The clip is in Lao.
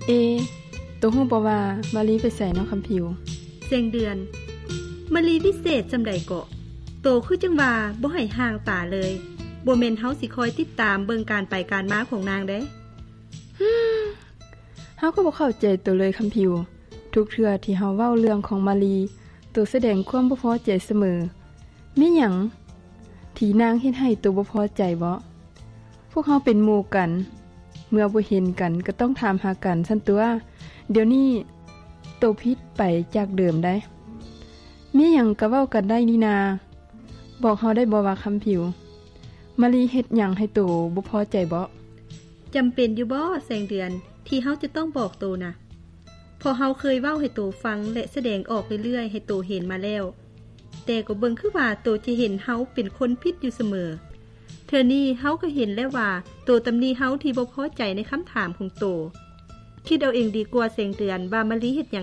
ເອ ໂຕຮູ້ບໍ່ວ່າມາລີໄປໃສເນາະຄຳຜິວ? ແສງເດືອນ, ມາລີວິເສດສ່ຳໃດເກາະ? ໂຕຄືຈັ່ງວ່າບໍ່ໃຫ້ຫ່າງຕາເລີຍ. ບໍ່ແມ່ນເຮົາຊິຄອຍຕິດຕາມເບິ່ງການໄປການມາຂອງນາງເດ້. ເຮົາກໍບໍ່ເຂົ້າໃຈໂຕເລີຍຄຳຜິວ. ທຸກເທື່ອທີ່ເຮົາເວົ້າເລື່ອງຂອງມາລີ, ໂຕສະແດງຄວາມບໍ່ພໍໃຈສະເໝີ. ມີຫຍັງທີ່ນາງເຮັດໃຫ້ໂຕບໍ່ພໍໃຈເບາະ? ພວກເຮົາເປັນໝູ່ກັນ, ເມື່ອບໍ່ເຫັນກັນກໍຕ້ອງຖາມຫາກັນຊັ້ນຕົວະ. ດຽວນີ້ໂຕຜິດໄປຈາກເດີມໄດ໋. ມີຫຍັງກໍເວົ້າກັນໄດ້ນີ້ນາ. ບອກເຮົາໄດ້ບໍ່ວ່າຄຳຜິວ, ມາລີເຮັດຫຍັງໃຫ້ໂຕບໍ່ພໍໃຈເບາະ? ຈຳເປັນຢູ່ບໍ່ແສງເດືອນ ທີ່ເຮົາຈະຕ້ອງບອກໂຕນະ? ເພາະເຮົາເຄີຍເວົ້າໃຫ້ໂຕຟັງ ແລະ ສະແດງອອກເລື້ອຍໆໃຫ້ໂຕເຫັນມາແລ້ວ, ແຕ່ກໍເບິ່ງຄືວ່າໂຕຈະເຫັນເຮົາເປັນຄົນຜິດຢູ່ສະເໝີ. ເທື່ອນີ້ເຮົາກໍເຫັນແລ້ວວ່າໂຕຕຳໜິເຮົາທີ່ບໍ່ພໍໃຈໃນຄຳຖາມຂອງໂຕ. ຄິດເອົາເອງດີກວ່າແສງເດືອນ ວ່າມາລີເຮັດຫຍັງ